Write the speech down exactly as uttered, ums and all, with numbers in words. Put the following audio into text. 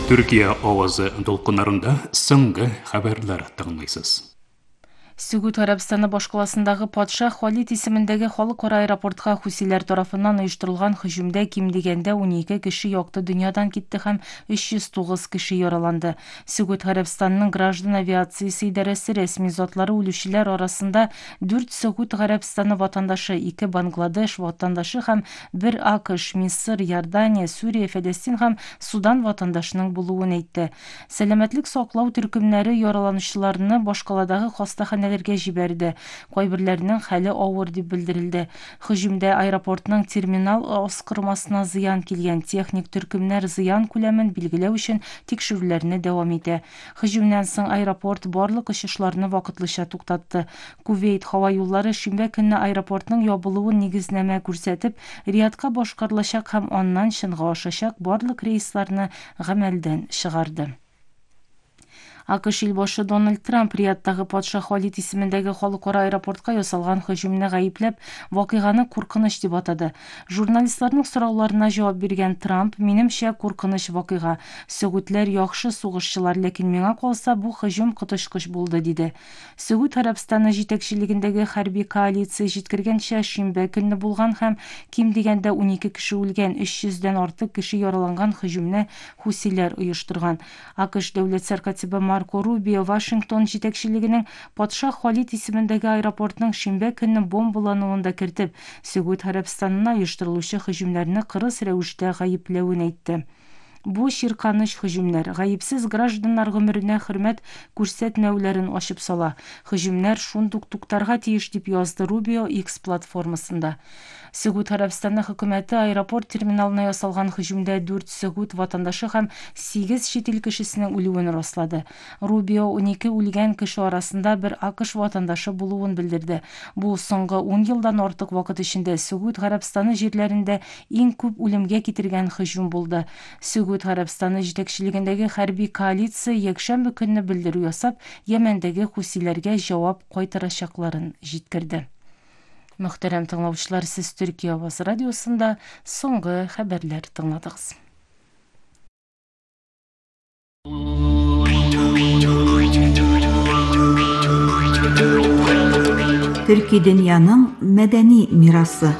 Түркия овозу толкундарында соңғы хабарлар тыңдайсыз. Сүгүт Арабстаны башкаласындагы Падшах Халид исеминдеги халыкара аэропортко хусилер тарафынан уюштурулган хужумда ким дегенде он эки киши жокту дүйнөдөн кетти һәм үч жүз тогуз киши яраланды. Сүгүт Арабстанынын граждан авиациясы идареси ресми затлары өлүшүлөр арасында төрт Сүгүт Арабстаны ватандашы, эки Бангладеш ватандашы һәм бир АКШ, Мисыр, Иордания, Сүрия, Фалестин һәм Судан ватандаштарынын болуун әйтте. Сәламәтлек саклоо түркүмнәре яраланучыларны башкаладагы хастахана жиберди. Койбирлеринин хали оор деп билдирилди. Хужумда аэропорттун терминал оскурмасына зыян келген. Техник түркүмнөр зыян күлөмүн белгилөө үчүн текшерүүлөрүнө давам этти. Хужумдан соң аэропорт барлык учушларны вакытлыча туктатты. Кувейт хаба юллары шимбе күнү аэропорттун жабылуун негизнеме көрсөтүп, Риядка башкарылачак һәм андан Шынга ашачак барлык рейсларны гамелден чыгарды. АКШ ил башы Дональд Трамп Риядтагы Падшах Халид исеминдеги халыкара аэропортко ясалган хужумну гайыплап, вакыйганы куркуныч деп атады. Журналистлердин суроолоруна жооп берген Трамп: "Менимче, куркуныч вакыйга. Сүгүтлөр жакшы сугушчулар, лекин мага калса бул хужум кытышкыч болду", деди. Сүгүт Арабстаны жетекчилигиндеги харбий коалиция жеткиргенче шимбе күнү болгон һәм ким дегенде он эки киши өлгөн, үч жүздөн артык киши яраланган хужумну хусилер уюштурган. АКШ Devlet Serkatibi Марко Рубио Вашингтон жетекчилигинин Падшах Халид исеминдеги аэропорттун шимбе күнү бомбалануунда киртип, Сүгүт Арабстанына уюштурулуучу хужумдарды кырыс рәвештө гайыплауын айтты. Бу ширканыч хужумдар гайыпсыз граждандар өмүрүнө хүрмөт көрсөтмөөлөрүн ашып сала. Хужумдар шундуктуктарга тийиш деп жазды Рубио X платформасында. Сүгүт Арабстаны хөкүмәте аэропорт терминалына ясалган хужумда төрт Сүгүт ватандашы һәм сегиз чет эл кишисинин үлүүн раслады. Рубио он эки үлгән киши арасында бир АКШ ватандашы болуун билдирди. Бул соңгы он жылдан артык вакыт ичинде Сүгүт Арабстаны жерлеринде эң көп үлүмгө кетирген хужум болду. Сүгүт Арабстаны жетекчилигиндеги харбий коалиция якшемби күнү билдирүү жасап, Йемендеги хусилерге жооп кайтарачакларын жеткирди. Мөхтәрәм тыңлаучылар, сиз Түркия Аваз радиосунда соңгы хәбәрләр тыңладыгыз. Түрки дөньяның мәдәни мирасы.